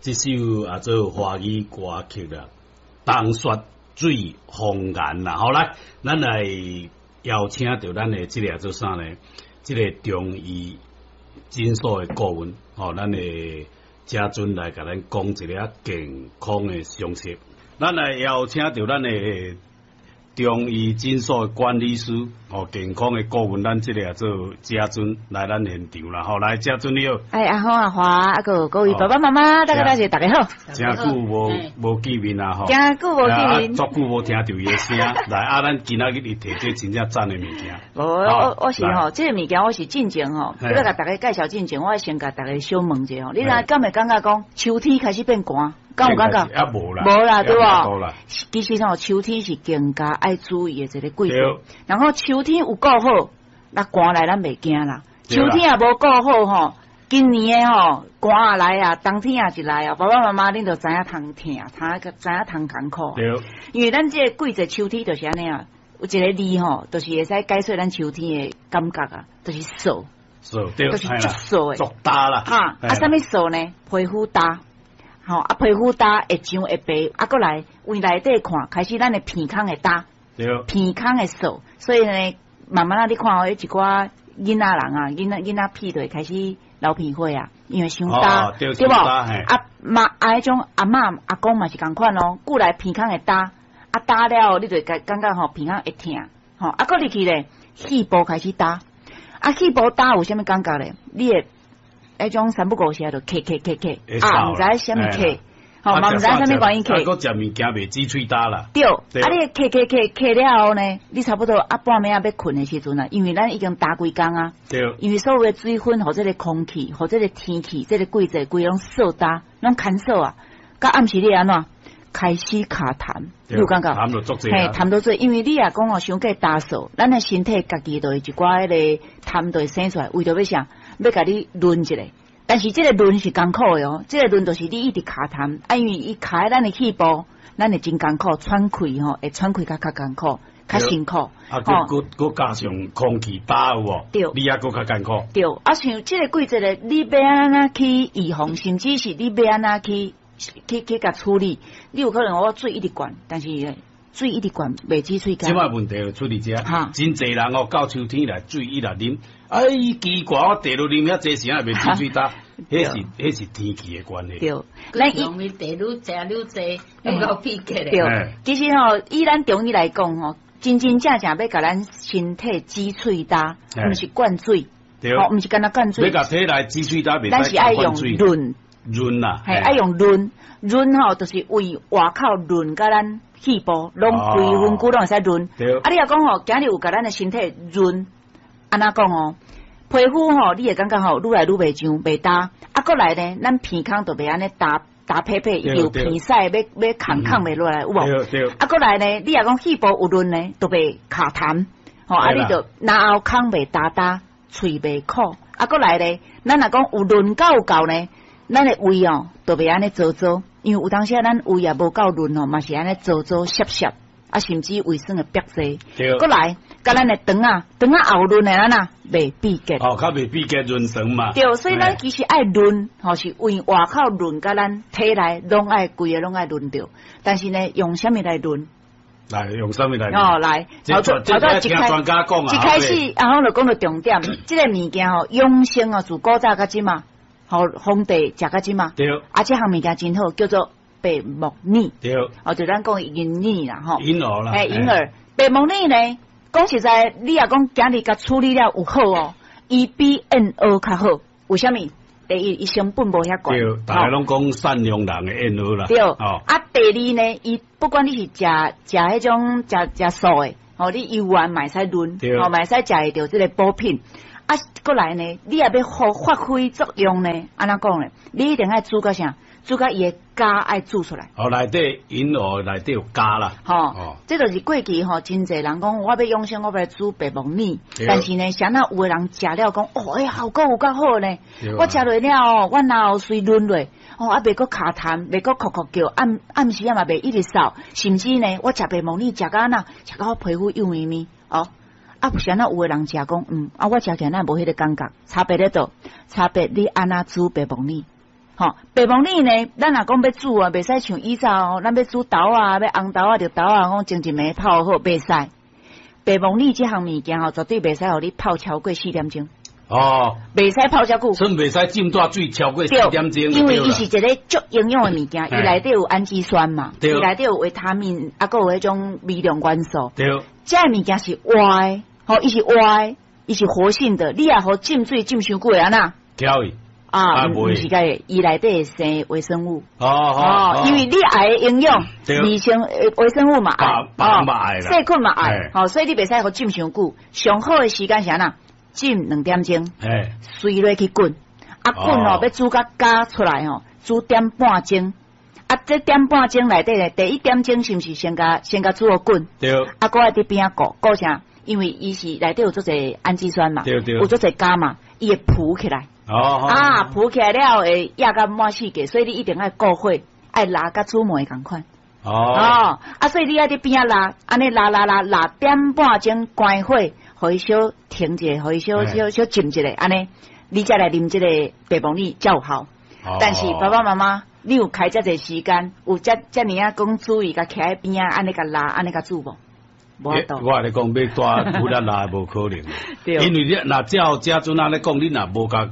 這首啊做華語歌曲啦，《冬雪水風岩》啦。好來，咱來邀請著咱的這个做啥呢？這个中醫診所的顧問，吼，咱的家尊來共咱講一个健康的常識。咱來邀請著咱的中醫診所的管理師，吼，健康的顧問，咱這个做家尊來咱現場啦，吼，來家尊你好。哎，阿好阿華，啊閣各位爸爸媽媽，大家大家大家好。誠久無見面啊，吼。誠久無見面。足久無聽著伊的聲，來啊，咱今仔日伊提這真正讚的物件。無，我是吼，這个物件我是進前吼，欲共大家介紹進前，我先共大家小問一下吼，你若敢會感覺講秋天開始變寒？敢有感覺？啊無啦，無啦，對無？其實吼，秋天是更加愛注意的一个季節。然後秋天有顧好，那寒來咱袂驚啦。秋天也無顧好吼，今年的吼寒來啊，冬天也一來啊，爸爸媽媽恁就知影通疼，知影通艱苦。因為咱這个季節秋天就是按呢啊，有一个字吼，就是會使解說咱秋天的感覺啊，就是燥。燥，對，就是足燥的。足焦啦。哈，啊，啥物燥呢？皮膚焦。吼，啊，皮膚焦會上會白，啊，閣來為內底看，開始咱的鼻孔會焦，鼻孔會燥，所以呢，慢慢仔你看哦，彼一寡囡仔人啊，囡仔屁就會開始流鼻血啊，因為傷焦，對無？啊媽啊，彼種阿嬤阿公嘛是仝款哦，過來鼻孔會焦，啊焦了後，你就會感覺吼鼻孔會疼，吼，啊，閣入去咧，肺部開始焦，啊，肺部焦有啥物感覺咧？你會彼種三不五時就咳咳咳咳，啊，毋知啥物咳，吼嘛毋知啥物原因咳。閣食物件袂止喙焦啦。對，啊你咳咳咳咳了後呢，你差不多啊半暝仔欲睏的時陣啊，因為咱已經焦規工啊。因為所有的水分，予這个空氣，予這个天氣，這个季節，規攏燥焦，攏乾燥啊。到暗時你按怎開始卡痰，你有感覺？痰就足濟。嘿，痰都濟，因為你若講哦，傷過焦燥，咱的身體家己就會一寡彼个痰就會生出來，為著欲啥？欲共你潤一下，但是這个潤是艱苦的哦，這个潤就是你一直卡痰，啊，因為伊卡佇咱的肺部，咱會真艱苦，喘氣吼，會喘氣較較艱苦，較辛苦。啊，閣閣加上空氣焦有無？對，你猶閣較艱苦。對，啊，像這个季節咧，你欲按怎去預防，甚至是你欲按怎去共處理，你有可能我水一直灌，但是水一直灌袂止喙焦。這擺問題就出佇遮，真濟人哦，到秋天來水一直啉，哎，奇怪，我茶都啉遐濟時間袂止喙焦，彼是天氣的關係。對，咱用伊茶愈食愈濟，愈夠秘訣。對，其實吼，以咱中醫來講吼，真真正正欲共咱身體止喙焦，毋是灌水，吼，毋是干焦灌水。欲共體內止喙焦，咱是愛用潤。潤啦，嘿，愛用潤潤吼，就是為外口潤佮咱肺部，攏規身軀攏會使潤。啊，你若講吼，今日有共咱的身體潤，按怎講哦？皮膚吼，你會感覺吼，愈來愈袂上，袂焦。啊，閣來呢，咱鼻孔就袂按呢焦焦撇撇，伊有鼻屎欲欲囥囥袂落來，有無？啊，閣來呢，你若講肺部有潤呢，就袂卡痰，吼，啊，你就嚨喉空袂焦焦，喙袂苦。啊，閣來呢，咱若講有潤夠有夠呢，咱的胃哦，就袂按呢燥燥，因為有當時啊，咱胃也無夠潤哦，嘛是按呢燥燥澀澀，啊，甚至胃酸會憋濟。閣來，佮咱的腸仔，腸仔也有潤的，咱啊袂秘結。哦，較袂秘結潤腸嘛。對，所以咱其實愛潤，吼是為外口潤，佮咱體內攏愛規个攏愛潤著。但是呢，用啥物來潤？來用啥物來？哦，來，頭頭一開專家講啊，一開始阿峰就講著重點，這个物件吼，養生哦，自古早到這馬。吼，皇帝食到這馬，對，啊，這項物件真好，叫做白木耳，對，哦，就咱講銀耳啦，吼，銀耳啦，嘿，銀耳，白木耳呢，講實在，你若講今日共處理了有好哦，伊比燕窩較好，為啥物？第一，伊成本無遐懸，對，大家攏講善良人的燕窩啦，對，啊，第二呢，伊不管你是食食彼種食食素的，吼，你油丸嘛會使潤，吼，嘛會使食會著這个補品。啊，閣來呢，你若欲予發揮作用呢？按怎講呢？你一定愛煮到啥？煮到伊的膠愛煮出來。哦，內底銀耳內底有膠啦。吼，這就是過去吼，真濟人講我欲養生，我欲來煮白木耳。但是呢，啥若有的人食了講，哦，欸，效果有夠好呢。我食落了後，我嚨喉隨潤落，哦，啊，袂閣卡痰，袂閣咳咳叫，暗暗時仔嘛袂一直嗽，甚至呢，我食白木耳食到按怎，食到我皮膚幼咪咪，哦。啊，啥若有的人食講，啊，我食起來哪無彼个感覺，差別佇佗？差別你按怎煮白木耳？吼，白木耳呢，咱若講欲煮啊，袂使像以早哦，咱欲煮豆啊，欲紅豆啊、綠豆啊，講前一暝泡好，袂使。白木耳這項物件吼，絕對袂使予你泡超過4點鐘。袂使泡遮久。算袂使浸大水超過四點鐘。因為伊是一个足營養的物件，伊內底有氨基酸嘛，伊內底有維他命，啊，閣有彼種微量元素。這个物件是活的，吼，伊是活的，伊是活性的。你若予浸水浸傷久會按怎？翘去。啊，毋是該，伊內底會生微生物。哦，因為你愛的營養，微生物嘛愛，細菌嘛愛，吼，所以你袂使予浸傷久。上好的時間是按怎？浸2點鐘，隨落去滾，啊滾哦，欲煮甲焦出來吼，煮點半鐘。啊，這點半鐘內底咧，第一點鐘是毋是先共煮予滾？啊，閣愛佇邊仔顧顧啥？因為伊是內底有足濟氨基酸嘛，有足濟鉀嘛，伊會浮起來。啊，浮起來了會壓甲滿世界，所以你一定愛顧火，愛抐佮煮糜仝款。啊，所以你愛佇邊仔抐，按呢抐抐抐抐點半鐘關火，予伊小停一下，予伊小小小浸一下，按呢，你才來啉這個白木耳才有效。但是爸爸媽媽，你有開遮濟時間，有遮遮爾仔講注意，共徛佇邊仔，按呢共抐，按呢共煮無？無法度。我共你講，欲帶骨力抐無可能。因為你若照這陣按呢講，你若無共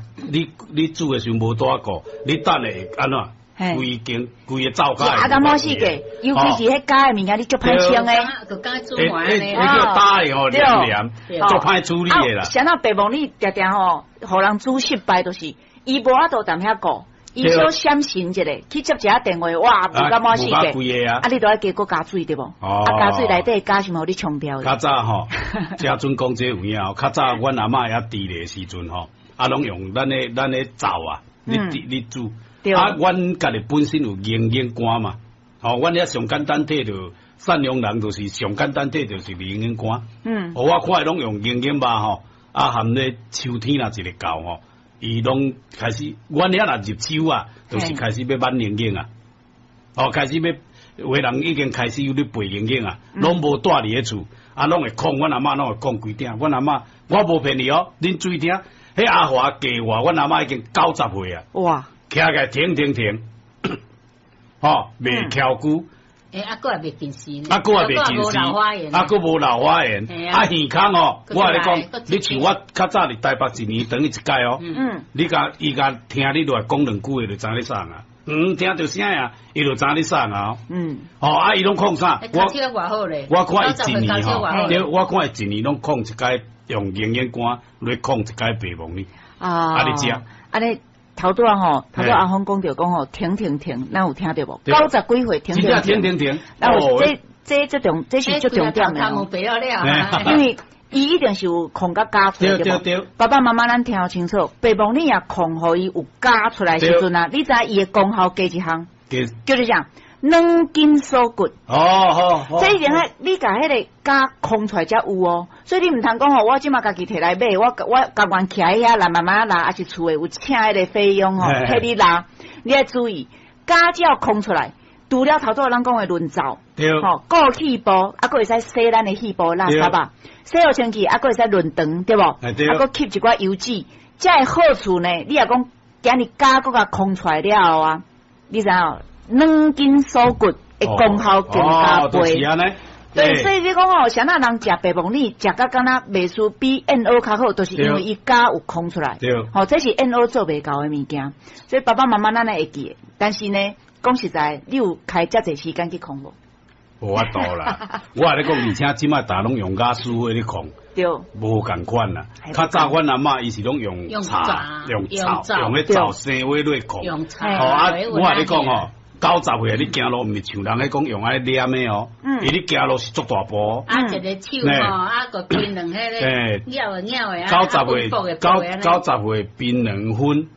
你煮的時陣無帶顧，你等下會按怎？規間規个灶跤。壓甲滿世界，尤其是彼膠的物件，你足歹清的。就敢煮糜按呢。彼叫焦的吼，黏黏，足歹處理的啦。啥人白木耳定定吼，予人煮失敗，就是伊無法度踮遐顧，伊小閃神一下，去接一下電話，哇，霧甲滿世界。啊，你都愛加閣加水對無？啊，加水內底鉀是毋是予你沖掉？較早吼，這陣講這有影哦。較早阮阿嬤猶佇咧時陣吼，啊，攏用咱的灶啊，你煮。啊，阮家己本身有營養肝嘛，吼，阮遐上簡單摕著贍養人，就是上簡單摕就是營養肝。我看伊攏用營養肉吼，啊含咧秋天若一个到吼，伊攏開始，阮遐若入秋啊，就是開始欲挽營養啊，哦，開始欲有的人已經開始有咧備營養啊，攏無蹛佇咧厝，啊，攏會控，阮阿嬤攏會控規鼎，阮阿嬤，我無騙你哦，恁注意聽，彼阿華計劃，阮阿嬤已經90歲啊。哇！徛起來停停停，吼，袂翹久。欸，啊，閣也袂近視呢。啊，閣也袂近視。啊，閣無老花眼。啊，耳孔哦，我共你講，你像我較早佇台北一年轉去一擺哦。你共伊共聽你落來講兩句話就知你啥啊？嗯，聽著聲啊，伊就知你啥啊。哦，啊，伊攏控啥？我看伊一年吼，對，我看伊一年攏控一擺用營養肝來控一擺白木耳。啊。啊，你食。按呢。頭拄仔吼，頭拄阿峰講著講吼，停停停，咱有聽著無？90幾歲停停停停停。那有這這這重，這是足重點的。因為伊一定是有控佮鉀出來對無？爸爸媽媽咱聽清楚，白木耳也控予伊有鉀出來時陣啊，你知伊的功效加一項，叫做啥？軟筋鎖骨。哦好。這一定愛你共彼个鉀控出來才有哦，所以你毋通講吼，我這馬家己摕來買，我甘願徛佇遐來慢慢抐，抑是厝的有請彼个菲傭吼，替你抐，你愛注意，鉀只要控出來，除了頭拄仔咱講的潤燥，吼，顧氣部，啊，閣會使洗咱的肺部垃圾啊，洗予清氣，啊，閣會使潤腸，對無？啊，閣吸一寡油脂，這个好處呢，你若講今日鉀閣共控出來了後啊，你知影？軟筋鎖骨的功效更加倍。對，所以你講吼，啥人食白木耳，食甲敢若袂輸比 NO 較好，就是因為伊鉀有空出來。對，吼，這是 NO 做袂到的物件。所以爸爸媽媽咱會記得，但是呢，講實在，你有開遮濟時間去控無？無法度啦，我共你講，而且這擺逐攏用瓦斯火咧控，對，無仝款啦。較早阮阿嬤伊是攏用柴、用灶、用彼灶生火咧控。用柴。吼啊！我共你講吼。90歲你行路毋是像人咧講用愛黏的哦，伊你行路是足大步。啊，一个手吼，啊閣檳榔彼个咬的咬的，90歲，90歲檳榔粉，